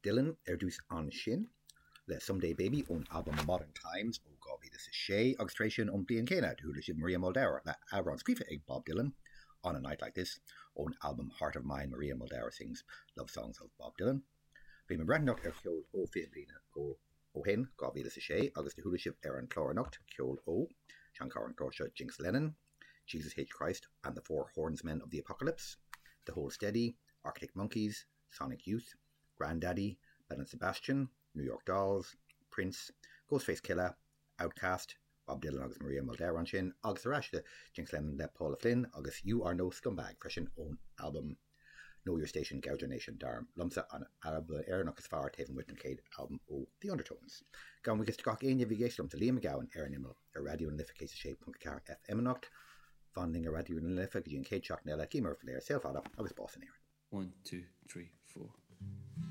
Dylan ar dtús ansin le Someday Baby ón albam Modern Times ó 2006 agus tar éis sin ón bliain céanna do chuala sibh Maria Muldaur le amhrán scríofa ag Bob Dylan, On a Night Like This ón albam Heart of Mine Maria Muldaur Sings Love Songs of Bob Dylan. Bím ag breathnú anocht ar cheol ó 20 bliana ó shin, 2006, agus do chuala sibh ar an chlár anocht ceol ó, seanchara an chláir seo Jinx Lennon, Jesus H. Christ and the Four Hornsmen of the Apocalypse, The Hold Steady, Arctic Monkeys, Sonic Youth, Grandaddy, Belle and Sebastian, New York Dolls, Prince, Ghostface Killah, Outkast, Bob Dylan agus Maria Muldaur ansin, agus ar ais le Jinx Lennon le Paula Flynn agus You Are No Scumbag freisin ón albam Know Your Station, Gouge Your Nation, dar liomsa an albam Éireannach is fearr taobh amuigh den chéad albam ó The Undertones. Gabhaim buíochas de gach éinne a bhí ag éisteacht liomsa, Liam Mac Gabhann, ar an Imeall ar Raidió na Life 106.4 FM anocht. Fan linn ar Raidió na Life go dtí an chéad seachtain eile. Guím oraibh go léir saol fada agus bás in Éirinn. 1, 2, 3, 4.